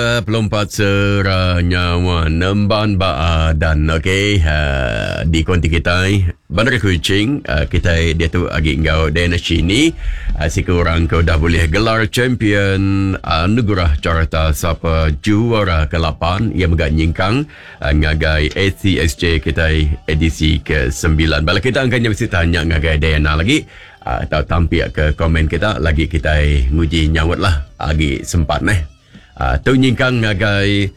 Pelompat sera nyawa nemban ba adan okey uh, di konti kitai Bandar Kuching uh, kitai diatu agi enggau Diana Shini uh, siku orang ke udah bulih gelar champion anugerah Carta Sapa Juara ke-8 iya mega nyingkang uh, ngagai ACSJ kitai edisi ke-9. Bala kita angkanya mesti tanya ngagai Diana lagi uh, atau tampik ke komen kita lagi kitai nguji nyaut lah agi sempat neh. Uh, tu nyingkang ngagai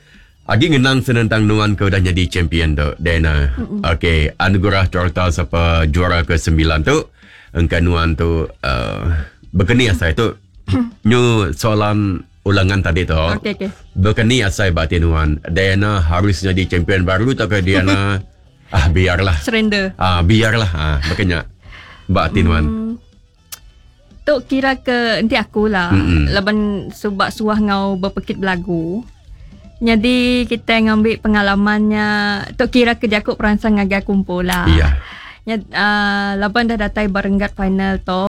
agi ngenang senentang nuan ke udah nyadi champion tu Diana. Okey, anugerah Carta Sapa Juara ke-9 tu engka nuan tu uh, bekeni asai tu. Nyu soalan ulangan tadi tu. Okey okey. Bekeni asai ba ati nuan? Diana harus nyadi champion baru tau ke Diana ah biarlah. Surrender. Ah biarlah ah bekenya ba ati nuan. Tu kira ke enti aku lah. Mm-mm. Laban subak suah ngau berpekit belagu. Jadi kita ngambil pengalamannya tu kira ke jaku peransang ngagai aku empu lah. Iya. Nya laban dah datai barenggat final tu,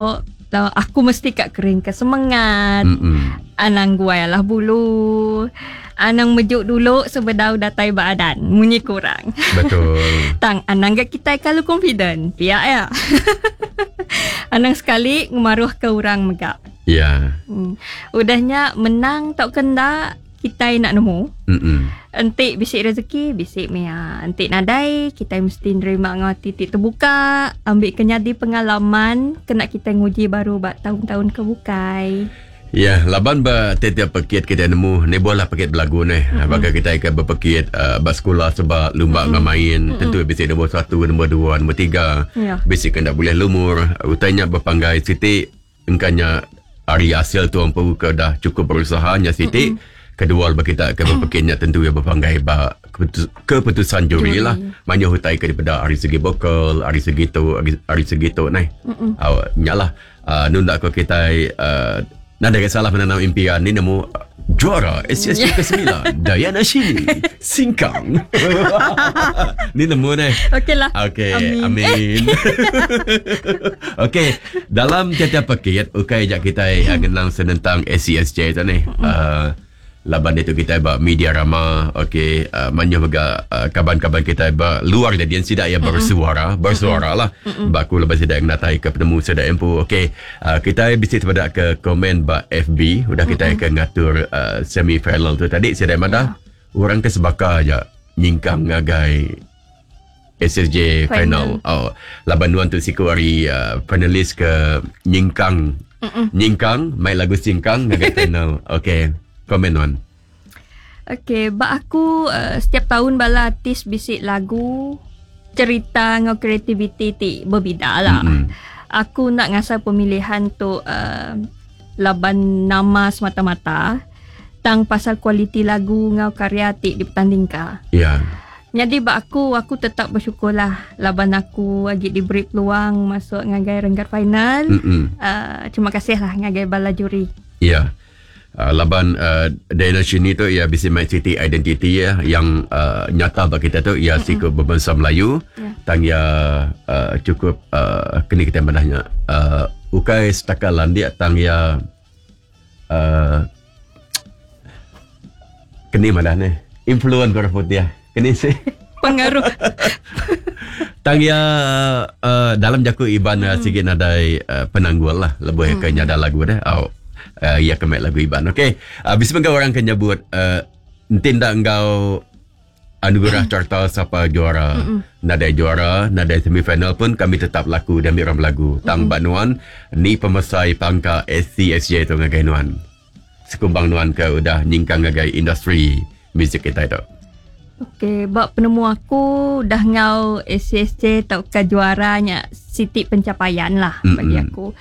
aku mesti ka kering ke semangat. Mm-mm. Anang guai alah bulu. Anang mejuk dulu sebedau datai ba adan. Munyi kurang. Betul. Tang anang ga kitai kalu confident. Pia ya. Anang sekali ngemaruh ke orang mega. Ya. Udahnya menang tau kenda kitai nak nemu. Mm-mm. Enti bisi rezeki, bisi mia. Enti nadai, kitai mesti nerima ngau ati ti terbuka, ambil ke nyadi pengalaman kena kitai nguji baru ba tahun-tahun ke bukai. Ya, laban ba tiap-tiap pekit kita nemu ni bola pekit belagu ni. Mm-hmm. Baka kita ke berpekit ba sekolah sebab lumba mm-hmm. main mm-hmm. tentu bisi nombor 1, nombor 2, nombor 3. Ya. Bisi kena boleh lumur, utainya berpanggai siti engkanya hari hasil tu empu ke dah cukup berusaha nya siti. Mm-hmm. Kedua bagi kita ke berpekitnya tentu ia berpanggai ba keputusan juri lah. Banyak hutai ke daripada hari segi vokal, hari segi tu, hari segi tu nai. Aw nyalah nunda ko kita nada ke salah menanam impian ni nemu juara SSG ke-9 Diana Shini Singkang. Ni nemu ni. Okey lah. Okey, amin. Okey, dalam tiap-tiap pekit ukai jak kita ngenang senentang SCSJ tu ni. Laban itu kita ba media rama, okey, manyo mega kaban-kaban kita ba luar jadi sidak ya bersuara, bersuara lah. Ba aku lepas sidak ngatai ke penemu sidak empu. Okey, kita bisi terpada ke komen ba FB, udah kita ke ngatur semi final tu tadi sidak madah orang ke sebaka aja nyingkang ngagai SSJ final. Oh, laban nuan tu siku hari finalis ke nyingkang. Nyingkang main lagu singkang ngagai final. Okey. Komen nuan. Okey, ba aku setiap tahun bala artis bisik lagu cerita ngau kreativiti ti berbeda lah. Aku nak ngasal pemilihan tu laban nama semata-mata tang pasal kualiti lagu ngau karya ti dipertandingkan. Ya. Jadi ba aku tetap bersyukurlah laban aku agi diberi peluang masuk ngagai renggat final. Terima kasih lah ngagai bala juri. Ya. Laban Diana Shini tu ia bisi mai city identity ya yang nyata bagi kita tu ia siku berbangsa Melayu. Tang ia cukup kini kita madahnya ukai setakat landik tang ia kini madah ni influence orang putih kini sih pengaruh tang ia dalam jaku Iban sikit nadai penanggul lah lebih ke nyada lagu dah. Ia kemek lagu Iban. Okey. Bisa mengau orang ke nyebut tindak engkau anugerah carta siapa juara. Nadai juara, nadai semifinal pun kami tetap laku dan ambil orang berlagu. Tang bak nuan ni pemesai pangka SCSJ tu ngagai nuan. Sekumbang nuan ke udah nyingkang ngagai industri muzik kita tu. Okey, bak penemu aku dah ngau SCSJ tau ke juaranya siti pencapaian lah bagi aku.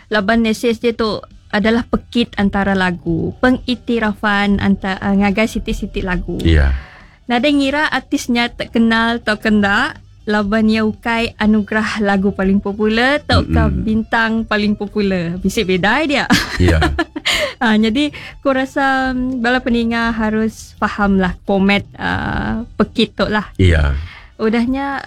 Laban SCSJ tu adalah pekit antara lagu, pengiktirafan antara ngagai siti-siti lagu. Ya. Nada ngira artisnya terkenal atau kendak, laban ia ukai anugerah lagu paling popular atau ke bintang paling popular. Bisik beda dia. Ya. Jadi aku rasa bala peninga harus faham lah format pekit tu lah. Ya. Udahnya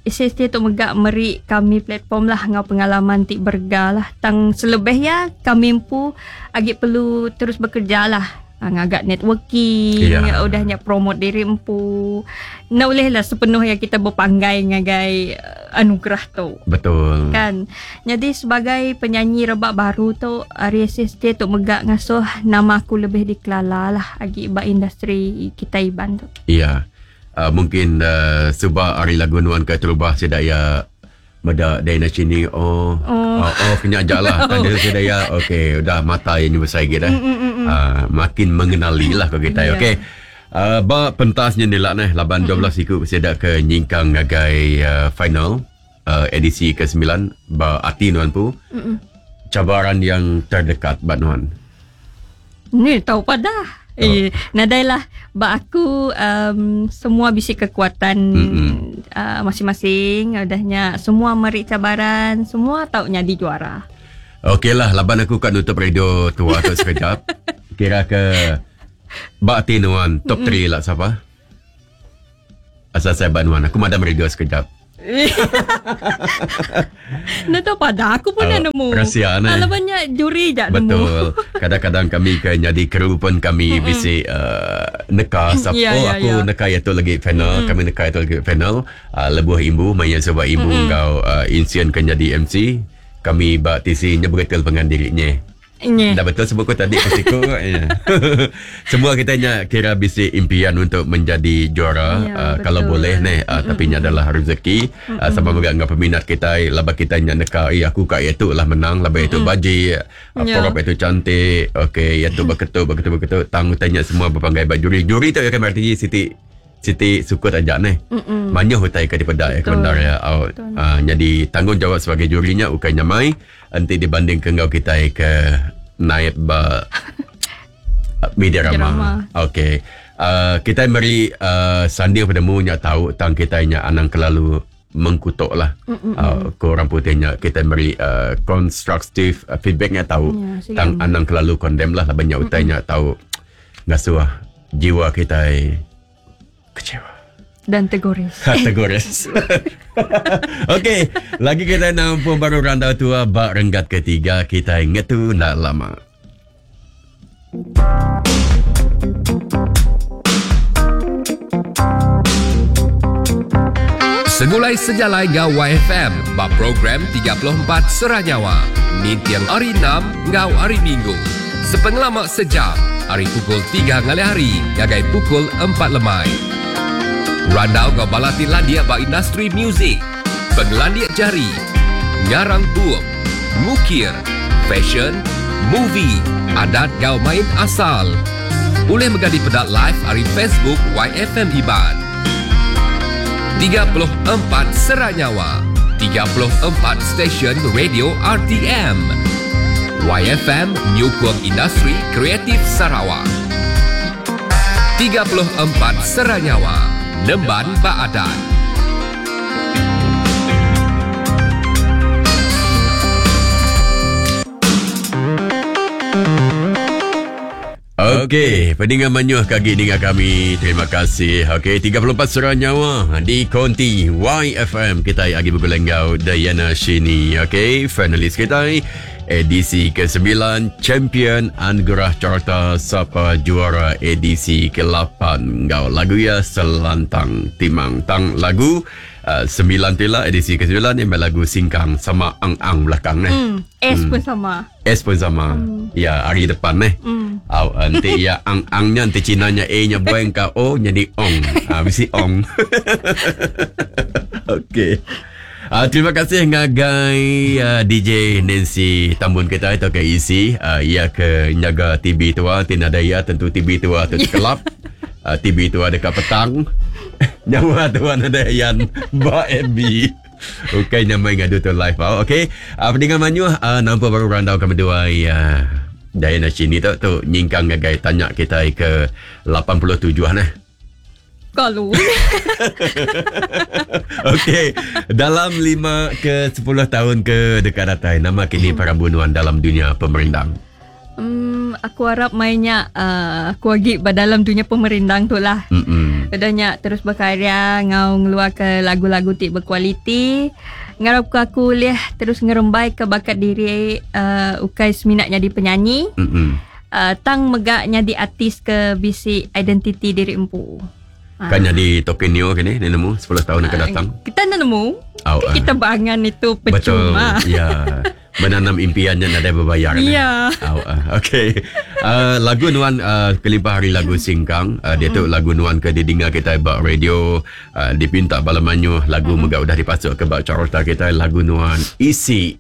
SST tu megak meri kami platform lah ngau pengalaman ti berga lah. Tang selebih ya kami empu agi perlu terus bekerja lah. Ngagak networking, udahnya promote diri empu. Nak boleh lah sepenuhnya kita berpanggai ngagai anugerah tu. Betul. Kan. Jadi sebagai penyanyi rebak baru tu, ari SSJ tu megak ngasuh nama aku lebih dikelala lah agi ba industri kita Iban tu. Iya. Mungkin suba ari lagu nuan ke terubah sida ya meda Diana Chini oh oh, oh kena ajak lah kan dia sudah ya okey udah mata yang besar lagi dah. Makin mengenali lah kau kita. Okey. Ba pentasnya ni lah neh laban 12 iku sida ke nyingkang ngagai final edisi ke-9 ba ati nuan pu. Cabaran yang terdekat ba nuan. Ni tahu pada. Eh, nadailah ba aku semua bisi kekuatan masing-masing udahnya semua meri cabaran semua tau nyadi juara. Okeylah laban aku kat nutup radio tua tu sekejap. Kira ke ba ati nuan top 3 lah siapa? Asal saya ba nuan aku madam radio sekejap. Nak tahu pada aku pun nak nemu. Rahsia ni. Kalau banyak juri jak nemu. Betul. Kadang-kadang kami ke jadi kru pun kami bisi neka siapa yeah, oh, aku neka itu lagi final, kami neka itu lagi final. Lebuh imbu maya sebab imbu ngau insien ke jadi MC. Kami ba TC nya betul pengan dirinya. Dah betul sebut aku tadi pasiku. Ya. Semua kita nya kira bisi impian untuk menjadi juara ya, kalau boleh neh tapi nya adalah rezeki. Sama juga dengan peminat kita laba kita nya neka aku kat itu lah menang laba itu baji porop itu cantik okey itu berketuk berketuk tang tanya semua berpanggai ba juri juri tu akan berarti Siti Siti sukut aja neh. Manyuh utai ke daripada ya kebenar ya. Jadi tanggungjawab sebagai jurinya bukan nyamai enti dibanding ke ngau kita ke naik ba media rama. Okey. Kita meri sanding padamu nya tahu tang kita nya anang kelalu mengkutuk lah. Ke orang putihnya kita meri constructive feedbacknya tahu ya, tang anang kelalu condemn lah banyak utai nya tahu ngasuh jiwa kita kecewa dan tergores. Tergores. Okey, lagi kita nampu baru randau tua bak renggat ketiga kita ngetu nak lama. Segulai sejalai ngau YFM bak program 34 Seranyawa. Nintiang hari 6 ngau hari Minggu. Sepengelama sejam hari pukul 3 ngalih hari gagai pukul 4 lemai. Randau ngau balati landia ba industri muzik, penglandia jari, ngarang bup, ngukir, fashion, movie, adat ngau main asal. Boleh megadi pedak live hari Facebook YFM Iban. 34 Seranyawa, 34 stesen radio RTM. YFM nyukung industri kreatif Sarawak. 34 Seranyawa, Nemban Baadan. Okey, pendengar manyuh kaki dengar kami. Terima kasih. Okey, 34 Seranyawa di Konti YFM. Kita lagi bergulenggau Diana Shini. Okey, finalis kita edisi ke-9 Champion Anugerah Carta Sapa Juara edisi ke-8. Ngau lagu ya Selantang Timang Tang lagu 9 tila edisi ke-9 ni lagu Singkang sama Ang-Ang belakang ni. S pun sama. S pun sama. Ya, hari depan ni. Nanti ya ang-angnya nanti Cinanya A-nya buang ke O jadi ong. Mesti ong. Okey. Terima kasih ngagai DJ Nancy Tambun kita itu ke isi ia ke nyaga TV tua tinada ia tentu TV tua tu kelap. TV tua dekat petang. Nyawa tuan ada yang ba FB. Okey, nyamai ngadu tu live. Okey. Pendengar manyuh nampak baru randau kami dua ya. Diana Shini tu nyingkang ngagai tanya kita ke 87 nah. Kalau. Okey, dalam 5 ke 10 tahun ke dekat datai nama kini para bunuan dalam dunia pemerindang. Aku harap mainnya aku lagi dalam dunia pemerindang tu lah. Udahnya terus berkarya, ngau ngeluar ke lagu-lagu ti berkualiti. Ngarap ke aku boleh terus ngerembai ke bakat diri ukai seminat jadi penyanyi. Tang mega nyadi artis ke bisi identiti diri empu. Kan nyadi token neo kini ni nemu 10 tahun akan datang. Kita enda nemu. Au, Kan kita berangan itu percuma. Betul. Ya. Menanam impiannya nadai berbayar. Ya. Au, okey. Lagu nuan kelimpah hari lagu Singkang, dia tu lagu nuan ke didinga kita ba radio, dipinta bala manyuh, lagu mega udah dipasuk ke ba carta kita lagu nuan Isi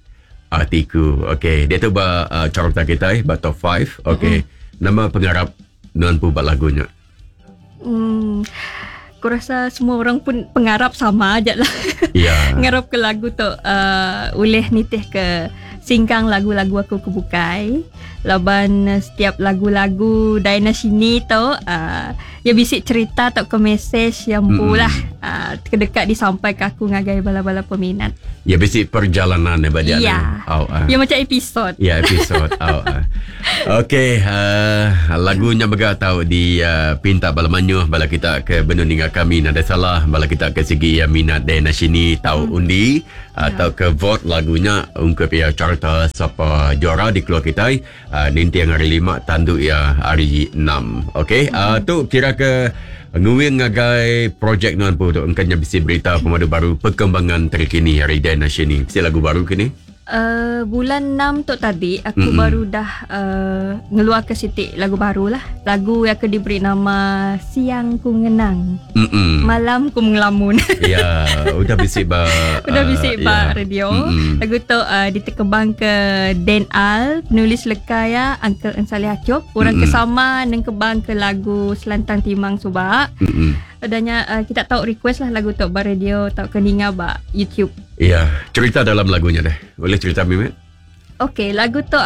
Atiku. Okey, dia tu ba carta kita ba top 5. Okey. Nama pengarap nuan pu ba lagunya? Aku rasa semua orang pun pengarap sama aja lah. Ya. Ngarap ke lagu tu ulih nitih ke singkang lagu-lagu aku ke bukai. Laban setiap lagu-lagu Diana Shini tu ya bisik cerita atau ke mesej yang pulah dekat disampai ke aku ngagai bala-bala peminat. Ya bisik perjalanan ya dia. Ya. Ya macam episod. Ya episod. Okey, lagunya mega tau di pinta bala manyuh bala kita ke benun ninga kami nada salah bala kita ke segi minat Diana Shini tau undi atau ke vote lagunya ungkup ya carta siapa juara di keluar kita nintiang hari 5 tandu ya hari 6. Okey, tu kira ke nguing ngagai projek nuan pu tu engkanya bisi berita pemadu baru perkembangan terkini hari Diana Shini. Bisi lagu baru kini? Bulan 6 tu tadi aku baru dah ngeluar ke sitik lagu baru lah. Lagu yang aku diberi nama Siang Ku Ngenang. Malam Ku Mengelamun. Ya, udah bisik ba udah bisik ba radio. Lagu tu ditekebang ke Dan Al, penulis leka ya Uncle Ensaleh Acop, orang kesama nengkebang ke lagu Selantang Timang Subak. Adanya kita tahu request lah lagu tu ba radio tau ke ninga ba YouTube. Ya, cerita dalam lagunya deh. Boleh cerita Mimit? Okey, lagu tu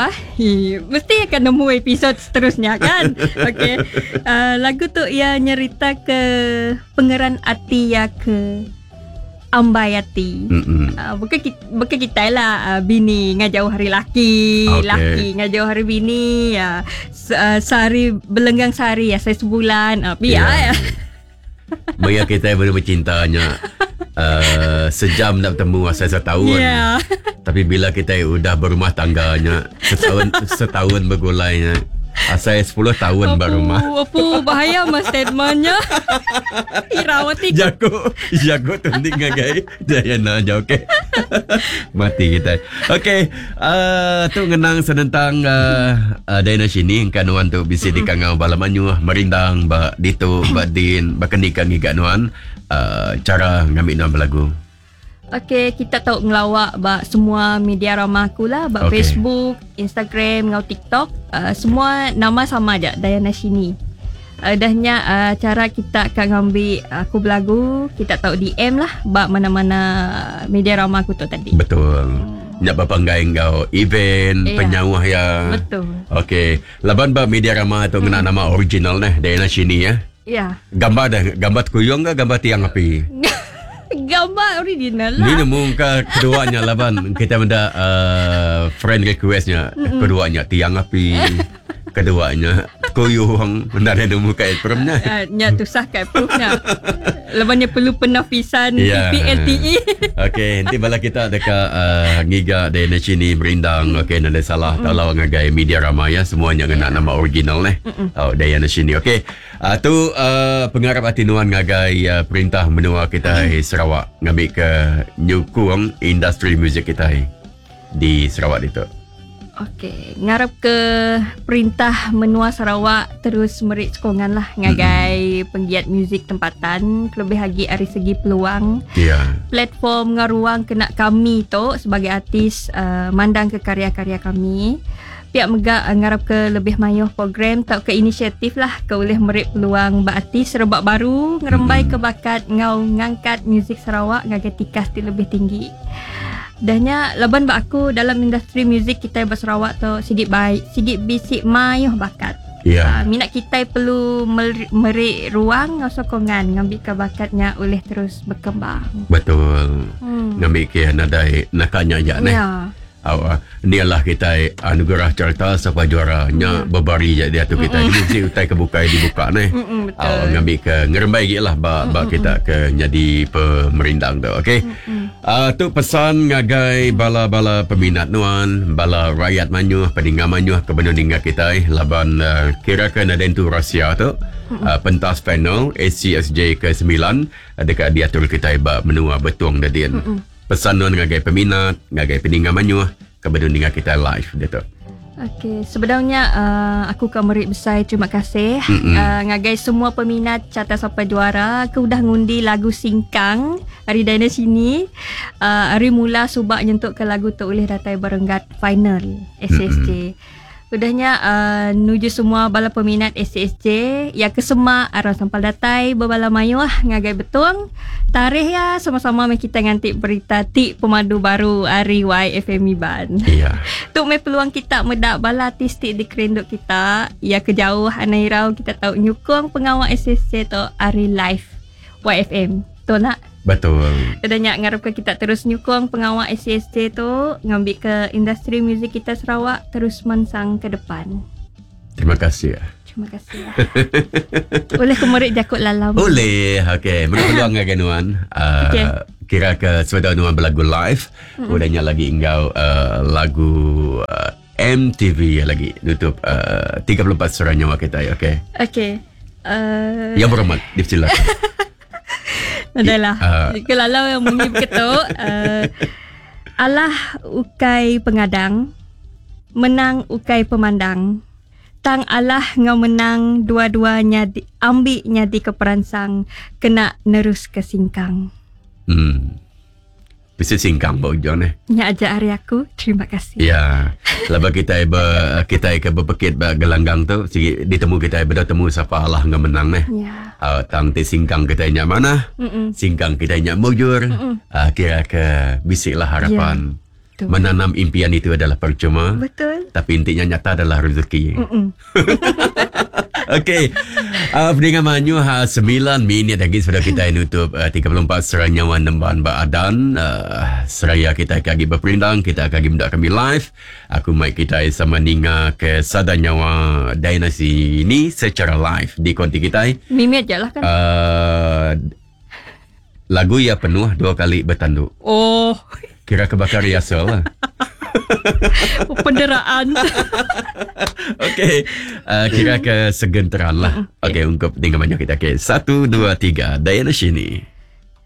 mesti akan nemu episod seterusnya kan. Okey. Lagu tu ia nyerita ke pengeran ati ya ke ambai ati. Bukan kita lah bini ngajauh hari laki, laki ngajauh hari bini ya. Sehari belenggang sehari ya, saya sebulan. Biar ya. Maya kita baru bercintanya sejam nak bertemu asal setahun. Yeah. Tapi bila kita udah berumah tangganya setahun bergulainya asal 10 tahun berumah. Apu bahaya mas statementnya. Irawati. Jago tundik ngagai Diana aja okey. Mati kita. Okey, tu ngenang senentang Diana Shini kan nuan tu bisi dikangau bala manyuh merindang ba ditu ba din ba kenika ngiga nuan cara ngambil nuan berlagu. Okey, kita tahu ngelawak ba semua media ramah aku lah, ba Facebook, Instagram, ngau TikTok, semua nama sama aja, Diana Shini. Dahnya cara kita akan ngambil aku berlagu, kita tahu DM lah ba mana-mana media ramah aku tu tadi. Betul. Nak berpanggai ngau event, penyawah ya. Betul. Okey, laban ba media ramah tu ngena nama original neh, Diana Shini ya. Ya. Gambar dah, gambar kuyung ke gambar tiang api? Gambar original lah. Ni nemu ke keduanya laban kita benda friend requestnya keduanya tiang api, keduanya kuyung, benda ada nemu kat approve-nya. Nya tusah kat approve-nya. Lepas ni perlu penafisan PPLTE. Okey, nanti bala kita dekat ngiga Diana Shini merindang. Okey, nada salah tolong ngagai media ramai ya semuanya ngena nama original neh. Oh, Diana Shini. Okey. Tu pengarap ati nuan ngagai perintah menua kita Sarawak ngambil ke nyukung industri muzik kita di Sarawak itu. Okey, ngarap ke perintah menua Sarawak terus merik sokongan lah ngagai penggiat muzik tempatan, lebih lagi dari segi peluang. Ya. Platform ngaruang kena kami tu sebagai artis mandang ke karya-karya kami. Pihak mega ngarap ke lebih mayuh program atau ke inisiatif lah ke boleh merik peluang bak artis rebak baru ngerembai ke bakat ngau ngangkat muzik Sarawak ngagai tikas ti lebih tinggi. Dahnya laban bak aku dalam industri muzik kita ba Sarawak tu sigit baik, sigit bisik mayuh bakat. Ya. Minat kita perlu merik ruang ngau sokongan ngambil ke bakatnya oleh terus berkembang. Betul. Ngambil ke nadai nakanya ja neh. Ya. Ni lah kita anugerah carta siapa juaranya berbari je dia tu kita. Ni mesti utai kebukai dibuka ni. Betul. Ngambil ke ngerembai gik lah ba kita ke jadi pemerindang tu. Okey. Tu pesan ngagai bala-bala peminat nuan, bala rakyat manyuh, peninga manyuh ke benung ninga kitai laban uh, kira ke nadai entu rahsia tu. Uh, pentas final ACSJ ke 9 uh, deka diatur kitai ba menua Betong Dadin. Pesan nuan ngagai peminat, ngagai peninga manyuh ke benung ninga kitai live ditu. Okey, sebenarnya aku ka meri besai terima kasih ngagai semua peminat Carta Sampai Juara ke udah ngundi lagu Singkang ari Diana Sini. Ari mula subak nyentuk ke lagu tu ulih datai berenggat final SSJ. Udahnya nuju semua bala peminat SSJ ya ke semak arang sampal datai bebala mayuh ngagai Betong. Tarikh ya sama-sama meh kita nganti berita ti pemadu baru ari YFM Iban. Iya. Tu meh peluang kita meda bala artis ti dikerinduk kita. Ya ke jauh anai irau kita tau nyukung pengawa SSJ tu ari live YFM. Tu nak. Betul. Udah nya ngarap ke kita terus nyukung pengawa SCSJ tu ngambil ke industri muzik kita Sarawak terus mansang ke depan. Terima kasih. Terima kasih. Boleh ku merik jakut lalam. Boleh. Okey, beri peluang ngagai nuan. Okey. Kira ke sebedau nuan belagu live, udah nya lagi enggau lagu MTV lagi nutup 34 suara nyawa kita. Okey. Okey. Yang berhormat, dipersilakan. Adalah. Kelalau yang bunyi begitu. Allah ukai pengadang, menang ukai pemandang. Tang Allah ngau menang dua-duanya di, ambil nyadi ke peransang kena nerus ke singkang. Bisa singkang ba ujung ni. Nya aja hari aku. Terima kasih. Ya. Lepas kita ber, kita ke berpekit ba gelanggang tu sigi ditemu kita beda temu siapa Allah ngau menang ni. Ya. Tang ti singkang kita nya mana? Singkang kita nya mujur. Kira ke bisiklah harapan. Ya. Betul. Menanam impian itu adalah percuma. Betul. Tapi intinya nyata adalah rezeki. Okey. Pendengar manyu 9 minit lagi sudah kita nutup 34 Seraya Nyawa Nemban Baadan. Seraya kita akan lagi berperindang, kita akan lagi mendak kami live. Aku mic kita sama ninga ke Sada Nyawa Dynasty ini secara live di konti kita. Mimi aja lah kan. Lagu ia penuh 2 kali bertanduk. Oh. Kira kebakar riasa lah. Penderaan. Okey. Kira ke segenteran lah. Okey, ungkup dengan banyak kita. Okey, 1, 2, 3. Diana Shini.